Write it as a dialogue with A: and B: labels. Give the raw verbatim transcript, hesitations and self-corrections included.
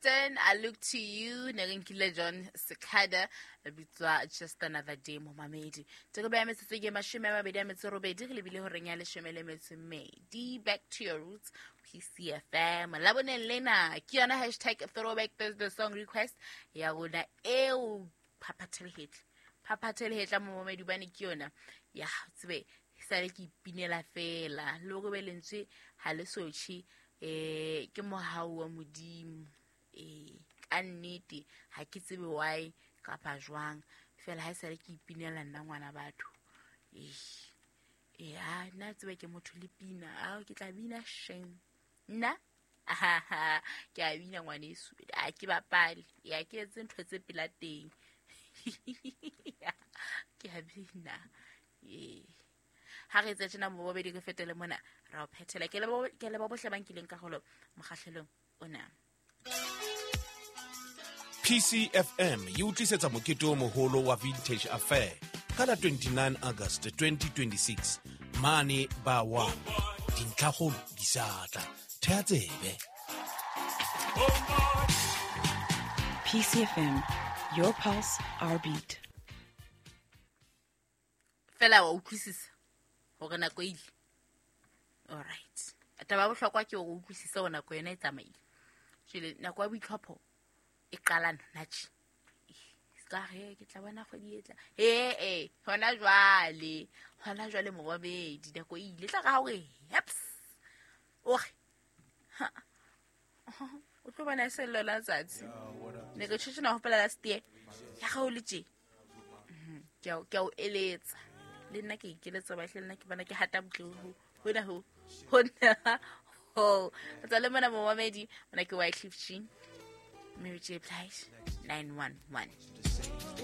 A: Houston, I Look to You. Ne re nkile Jon Secada, a bitswa Just Another Day momamedi. Teko ya metsotso ke mashome a mabedi a metso robedi, re lebile horeng ya leshome le metso e mmedi. Back to your roots, P C F M. Laboneng lena ke yona hashtag throwback Thursday song request ya rona eo. Phaphathelehetla, phaphathelehetla momamedi, bane ke yona ya tsebe sale ke ipinela fela le gore be lentswe ha le sotšhe. um ke mohau wa Modimo. Ee, ka nnete ha ke tsebe why kapa jwang, fela ha e sale ke ipinela nna ngwana batho. Ee, ee, nna tsebe ke motho le pina. Ao, ke tla bina sheng nna, ke a bina ngwaneso, a ke bapale ya ke etse ntho tse pela teng, ke a bina. Ee, ha re etse tjena mo bobedi, re fetele mona ra o phethela. Ke leboha bohle ba nkileng karolo mokgahlelong ona.
B: P C F M e o tlisetsa mokete o moholo wa Vintage Affair ka la twenty-nine August twenty twenty-six mane ba one. Dintlhakgolo di sa tla, thea tsebe.
C: P C F M, your pulse, our beat.
A: Fela wa utlwisisa hore nako e ile. Alright, taba ya bohlokwa ke hore o utlwisise hore nako yona e tsamaile. Jwale nako ya boitlhopho e qala nona tje. Ska re ke tla bona kgwedi e tla. Ee, hona jwale, hona jwale morobedi, nako e ile. Tla ka ha hore heps, ore o tlo bona e se lona tsatsi ne ke tjho na hopola last year ya ga o le tje. Ke a ke a o eletsa le nna, ke ikeletsa bahle le nna, ke bona ke hata butle ho hona ho hona ho tsa le mona momamedi. Mona ke Wyclef Jean, Mary J Blige, nine one one.